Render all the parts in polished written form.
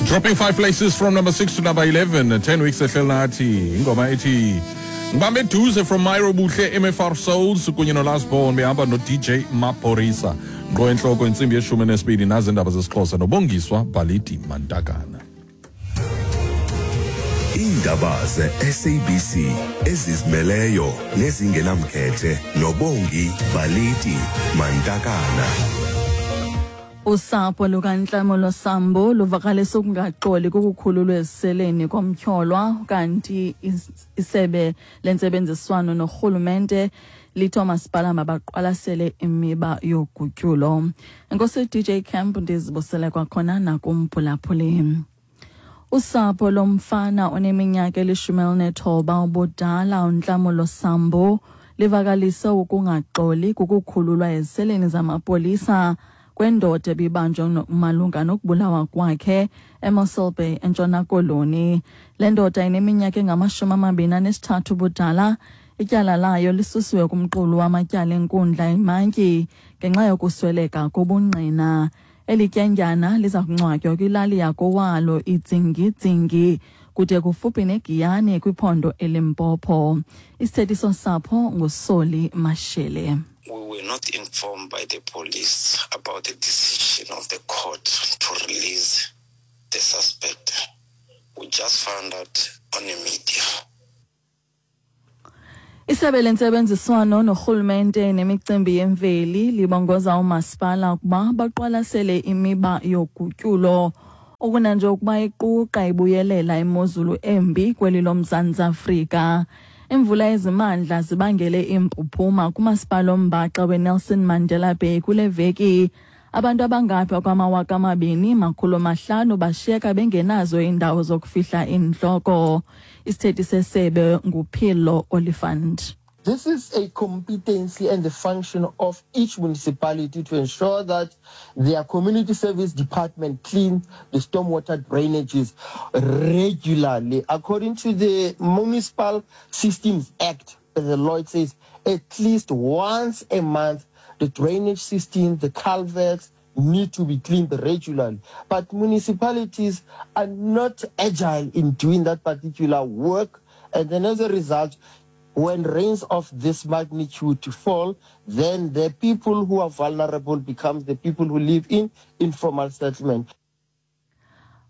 Dropping 5 places from number 6 to number 11, 10 weeks ehleli nathi. Ingoma ethi Ngibambe eduze from Myro Buhle MFR Souls kunye noLast Born behamba no-DJ Maphorisa. Ngqo entloko intsimbi yeshumi nesibini nazi iindaba zesiXhosa noBongiswa Bhalidi Mantakana. Iindaba ze-SABC ezizimeleyo nezingenamkhethe noBongi Baliti Mantakana. Usapho lukaNtlamolo Sambo luvakalisa ukungaxoli kukukhululwa eziseleni komtyholwa, kanti isebe lentsebenziswano norhulumente lithi oomasipala mabaqwalasele imiba yogutyulo. Enkosi DJ Camp, ndizibusele kwakhona nakumphulaphuli. Usapho lomfana oneminyaka eli-19 ubudala uNtlamulo Sambo livakalise ukungaxoli kukukhululwa eziseleni zamapolisa kwendoda ebibanjwe malunga nokubulawa kwakhe eMossel Bay eNtshona Koloni. Le ndoda ineminyaka engama-23 ubudala. Ityala layo lisusiwe kumqulu wamatyala enkundla imantyi ngenxa yokusweleka kobungqina. Eli tyendyana liza kungcwatywa kwilali yakowalo iDzingidzingi kude kufuphi neGiyani kwiphondo eLimpopo. Isithethi sosapho nguSoli Mashele. We were not informed by the police about the decision of the court to release the suspect. We just found out on the media. Isebe lentsebenziswano norhulumente nemicimbi yemveli libongoza umasipala ukuba baqwalasele imiba yogutyulo okunanje ukuba iquqa ibuyelela imozulu embi kweli loMzantsi Afrika. Imvula ezimandla zibangele impuphuma kumasipala ombaxa weNelson Mandela Bay kule veki. Abantu abangapha kwama-2,500 bashiyeka bengenazo iindawo zokufihla iintloko. Isithethi sesebe nguPhilo Oliphant. This is a competency and the function of each municipality to ensure that their community service department clean the stormwater drainages regularly. According to the Municipal Systems Act, the law says at least once a month, the drainage system, the culverts need to be cleaned regularly. But municipalities are not agile in doing that particular work. And then as a result, when rains of this magnitude fall, then the people who are vulnerable become the people who live in informal settlement.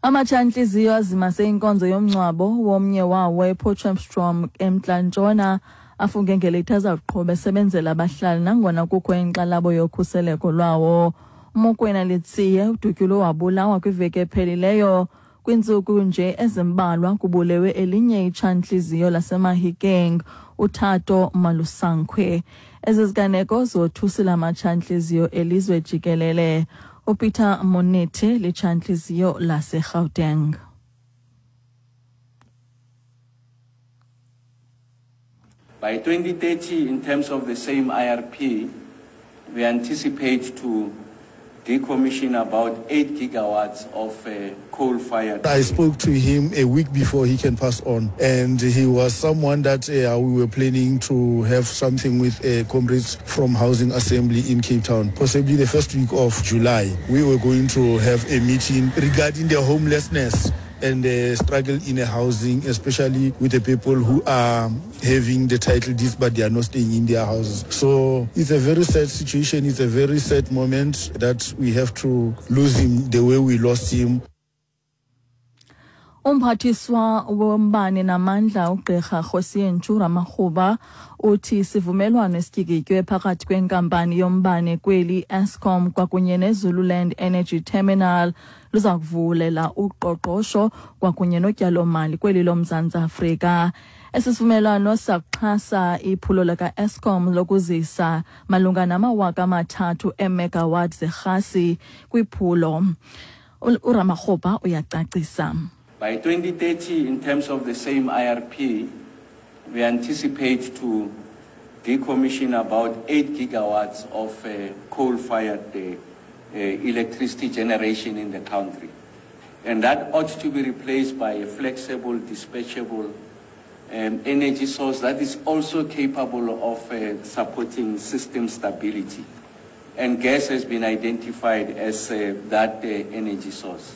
Amatshantliziyo azimase inkonzo yomngcwabo womnye wawo ePotchefstroom eMntla Ntshona afunge ngelithi aza kuqhuba esebenzela abahlali nangona kukho inkxalabo yokhuseleko lwawo. UMokwena Letsie udutyulwe wabulawa kwiveki ephelileyo kwiintsuku nje ezimbalwa kubulewe elinye itshantliziyo laseMahikeng uThato Malusankhwe. Ezi ziganeko zothusile amatshantliziyo elizwe jikelele. UPeter Monete litshantliziyo laseGauteng. By 2030, in terms of the same IRP, we anticipate to decommission about 8 gigawatts of coal-fired. I spoke to him a week before he can pass on, and he was someone that we were planning to have something with comrades from Housing Assembly in Cape Town, possibly the first week of July. We were going to have a meeting regarding the homelessness and the struggle in the housing, especially with the people who are having the title deeds but they are not staying in their houses. So it's a very sad situation. It's a very sad moment that we have to lose him the way we lost him. Umphathiswa wombane namandla uGqirha Kgosientsho Ramokgopa uthi isivumelwano esityikitywe phakathi kwenkampani yombane kweli Eskom kwakunye neZululand Energy Terminal luza kuvulela uqoqosho kwakunye notyalomali kweli loMzantsi Afrika. Esi sivumelwano sakuxhasa iphulo lika-Eskom lokuzisa malunga nama-3,000 eemegawatt zerhasi kwiphulo. URamokgopa uyacacisa. By 2030, in terms of the same IRP, we anticipate to decommission about 8 gigawatts of coal-fired electricity generation in the country. And that ought to be replaced by a flexible, dispatchable energy source that is also capable of supporting system stability. And gas has been identified as that energy source.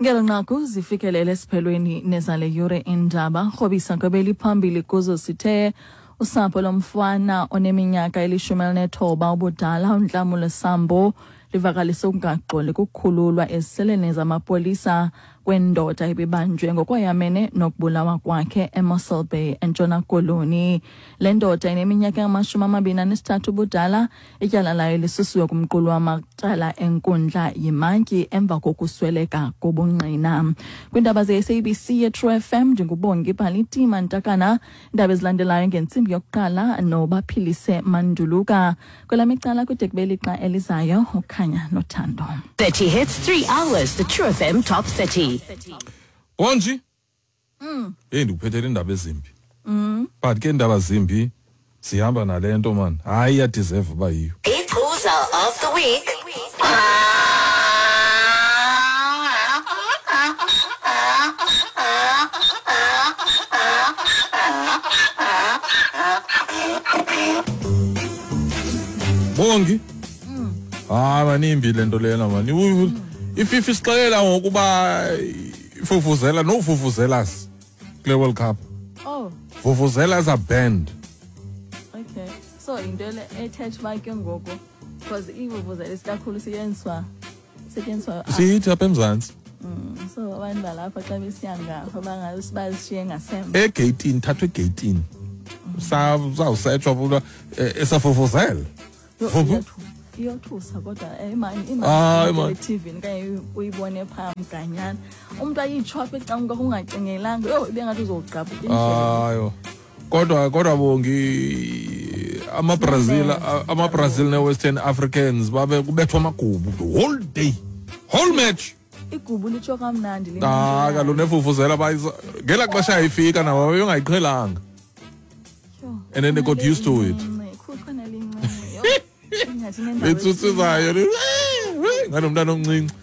Ngelo nqaku zifikelele esiphelweni nezale yure indaba. Rhobisa kwebeliphambili kuzo sithe usapho lomfana oneminyaka eli-19 ubudala uNhlamulo Sambo livakalise ukungaxoli kukukhululwa eziseleni zamapolisa kwendoda ebibanjwe ngokwayamene nokubulawa kwakhe eMossel Bay eNtshona Koloni. Le ndoda ineminyaka engama-23 ubudala, ityala layo lisusiwe kumqulu wamatyala enkundla yimantyi emva kokusweleka kobungqina. Kwiindaba ze-SABC ye-True FM, ndinguBongi Bhaliti Mantakana. Iindaba ezilandelayo ngentsimbi yokuqala noBaphilise Manduluka. Kwelam icala kude kube lixa elizayo, ukhanya nothando. 30 hits, 3 hours, the True FM Top 30. Bonji? Hey, ndikuphethele indaba ezimbi. But ke indaba zimbi sihamba nale nto man. Hayi, iyadeserve uba yiyo. Iqhuza of the week. Bongi? Hayi manimbi le nto lena man. IFIFA isixelela ngokuba ifufuzela no vuvuzelas kule World Cup. Oh. Vuvuzelas are banned. Okay. So into le ethetha uba ke ngoku because ivuvuzela isikakhulu setyenziswa sithi apha eMzantsi. So abantu balapha xa besiya ngapha bazishiye ngasemva. Egeyitini, thathwe egeyitini. Sawusetshwa futhi esafufuzela. Iyothusa kodwa imani TV okanye uyibone phaa mganyana. Umntu ayitsho apha ecaleni ungacingelanga. Yho, ibe ngathi uzogqabhuka indlela. Hayo. Kodwa Bongi, amaBrazil ne-Western Africans babe kubethwa amagubu the whole day. Whole match. Igubu litsho kamnandi. Ah, kaloku nefufuzela bayisa ngela xesha ayifika nabo babengayiqhelanga. And then they got used to it. Betsutsizayo nganomntana omncinci.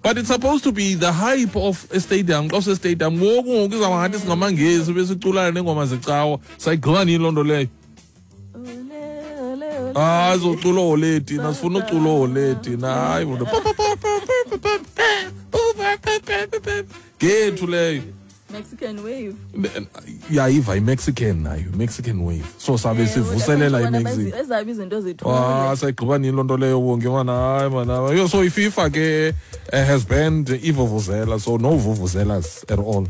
But it's supposed to be the hype of a stadium. Xa usestadium ngoku ngoku izawuba ngathi singamaNgesi besiculana neengoma zecawa. Sayigqiba nini loo nto leyo? Hayi, zocula ole thina, sifuna ucula ole thina. Hayi, ngethu leyo. Mexican wave. Yayiva i-Mexican nayo, Mexican wave. So sabe sivuselela i-Mexico. Ezabi izinto zethu. Ah, sayigqiba nini loo nto leyo wonke mana, hayi mana. Yo, so iFIFA ke has banned ivuvuzela, so no vuvuzelas at all.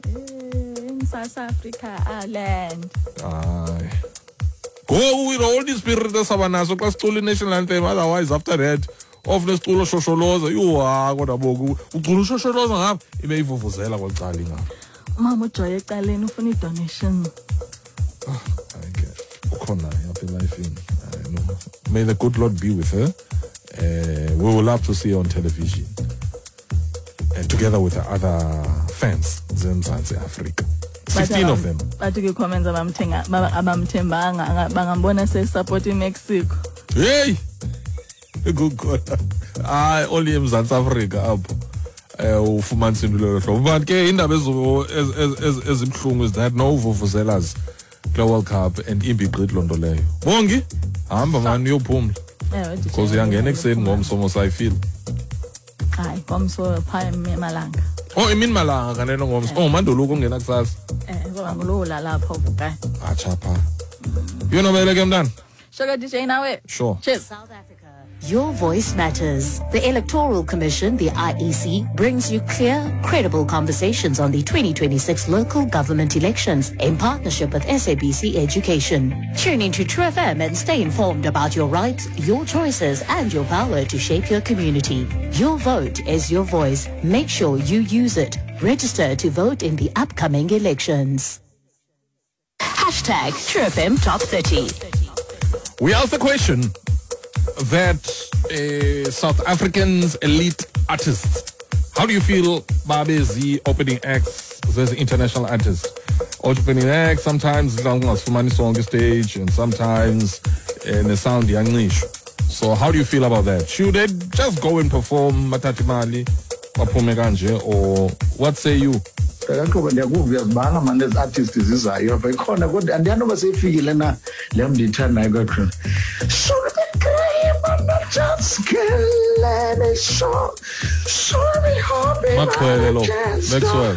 In South Africa, our land. Hayi. Go with all the spirit esaba naso xa sicula i-national anthem, otherwise after that of nesiculo shosholoza. Yho, kodwa boku ucula ushosholoza ngapha ibe ivuvuzela kwacala ingapha. Mama uJoy ecaleni ufuna i-donation. Okay. Ukhona apha elifini. I know. May the good Lord be with her. We will love to see her on television. And together with the other fans zeMzantsi Afrika. 16 of them. Bathi kwi-comments abamthembanga bangambona sesupport iMexico. Hey! Good God. Hayi, only eMzantsi Afrika apho ufumanisa into lelo hlobo. But ke indaba ezibuhlungu is that no vuvuzelas kule World Cup and imbi gqithi loo nto leyo. Bongi, hamba mani uyophumla. Because uyangena ekuseni ngomso mos ayifeel. Hayi, ngomso phaa emalanga. Oh, imini malanga kanene ngomso. Oh, manduluko ungena kusasa. Ngoba ngulowo lalapha uvukayo. Atsha phaa. Yonobele ke mntana. Sugar DJ nawe. Sure. Cheers. South Africa. Your voice matters. The Electoral Commission, the IEC, brings you clear, credible conversations on the 2026 local government elections in partnership with SABC Education. Tune into True FM and stay informed about your rights, your choices, and your power to shape your community. Your vote is your voice. Make sure you use it. Register to vote in the upcoming elections. Hashtag True FM Top 30. We asked the question that South Africans elite artists, how do you feel babezi opening acts as international artists? Opening acts sometimes ungazifumani sonke stage and sometimes the sound iyancisha. So how do you feel about that? Should they just go and perform bathathe imali baphume kanje, or what say you? Kaqhuba ndiyakuva uyazibala mani ezi artist zizayo apha ikhona kodwa andiyanoba seyifikile na le mndiyithandayo kakhulu. Just kill any show. Maxwele lo, Maxwell.